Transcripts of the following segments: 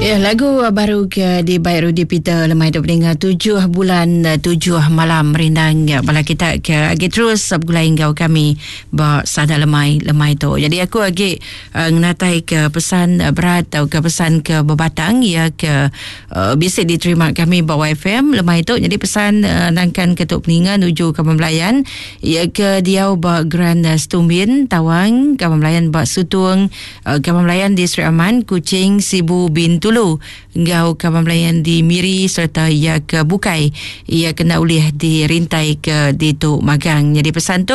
Ya, lagu baru ke dibai Rudy Peter lemai tu peninga tujuh bulan tujuh malam merindang ya, bala kita ke agi terus begulai enggau kami ba sada lemai lemai tu. Jadi aku agi uh, ngenatai ke pesan uh, berat atau ke pesan ke bebatang ya ke uh, bisi diterima kami ba YFM lemai tu. Jadi pesan uh, nangkan ke tu peninga nuju ke pembelayan ya ke diau ba Grand Stumbin Tawang, kawan belayan ba Sutung Kaban Belayan di Sri Aman, Kuching, Sibu, Bintulu enggau kaban belayan di Miri sereta iya ke bukai iya kena ulih dirintai ke ditu magang. Nyadi pesan tu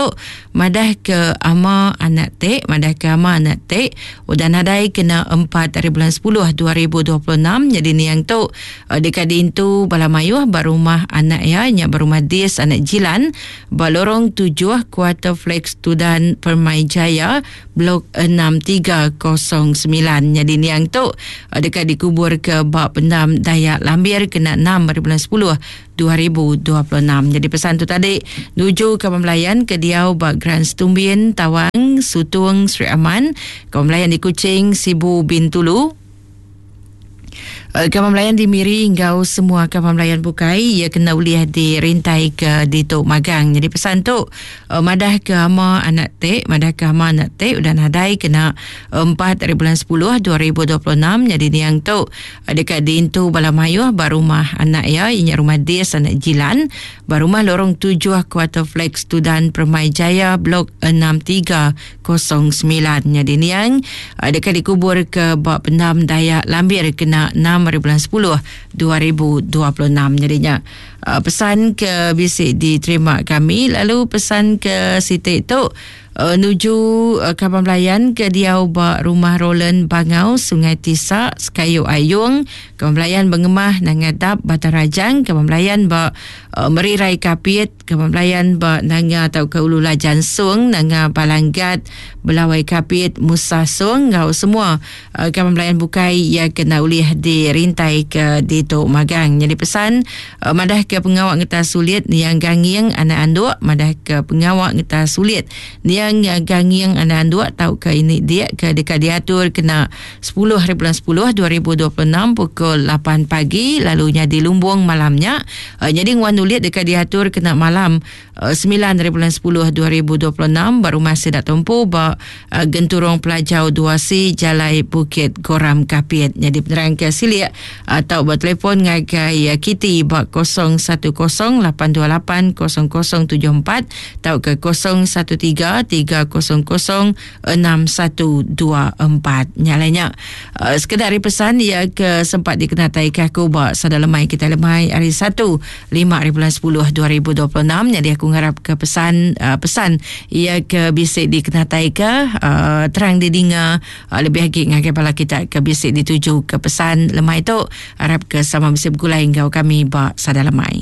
madah ke ama anak tek, madah ke ama anak tek udah nadai kena 4 hari bulan 10 2026 nyadi niang tu deka diintu bala mayuh ba rumah anak iya nya ba rumah Dis anak Jilan ba Lorong 7 Kuarter Flex Tudan Permai Jaya Blok 6309. Nyadi niang tu deka dikubur ke ba pendam Dayak Lambir kena 6 hari bulan 10 2026. Jadi pesan tu tadi nuju ke pembelayan ke diau ba Grand Stumbin, Tawang, Sutung, Sri Aman, ke pembelayan di Kuching, Sibu, Bintulu, Kaban Belayan di Miri enggau semua kaban belayan bukai ia kena ulih dirintai ke ditu magang. Jadi pesan tu madah ke ama anak tek, madah ke ama anak tek udah nadai kena 4 hari bulan 10 2026 jadi niang tu deka diintu bala mayuh ba rumah anak iya inya rumah Dis anak Jilan ba rumah Lorong 7 Kuarter Flex Tudan Permai Jaya Blok 63 09 nyadi niang deka dikubur ke ba pendam Dayak Lambir kena 6 hari bulan 10 2026 nyadi nya pesan ke bisi diterima kami lalu pesan ke siti tu nuju kaban belayan ke diau ba rumah Roland Bangau Sungai Tisa Sekayu Ayung kaban belayan Bengemah Nanga Dap Batang Rajang kaban belayan ba Merirai Kapit Kaban belayan ba Nanga tauka Ulu Lajan Song, Nanga Balanggat, Belawai Kapit, Musa Song enggau semua kaban belayan bukai iya ke enda ulih dirintai ke ditu magang. Nyadi pesan madah ke pengawa ngetas sulit niang Ganging anak anduk madah ke pengawa ngetas sulit niang Ganging anak anduk tauka ini dik ke deka diatur kena 10 hari bulan 10 2026 pukul 8 pagi lalu nyadi lumbung malam nya. Nyadi nguan ulit deka diatur kena malam 9 hari bulan 10 2026 ba rumah sida tumpu ba Genturung Pelajau 2C Jalai Bukit Goram Kapit. Nyadi penerang ke silik tau betelefon ngagai Kitty ba 010 828 0074 tauka 013 300 6124. Nya alai nya uh, sekeda ari pesan ia ke sempat dikenatai ke aku ba sada lemai kita lemai hari 1 5 hari bulan 10 2026. Jadi aku ngarap ke pesan uh, pesan ia ke bisi dikenatai ke uh, terang didinga uh, lebih agi ngagai bala kita ke bisi dituju ke pesan lemai tu arap ke sama bisi begulai enggau kami ba sada lemai.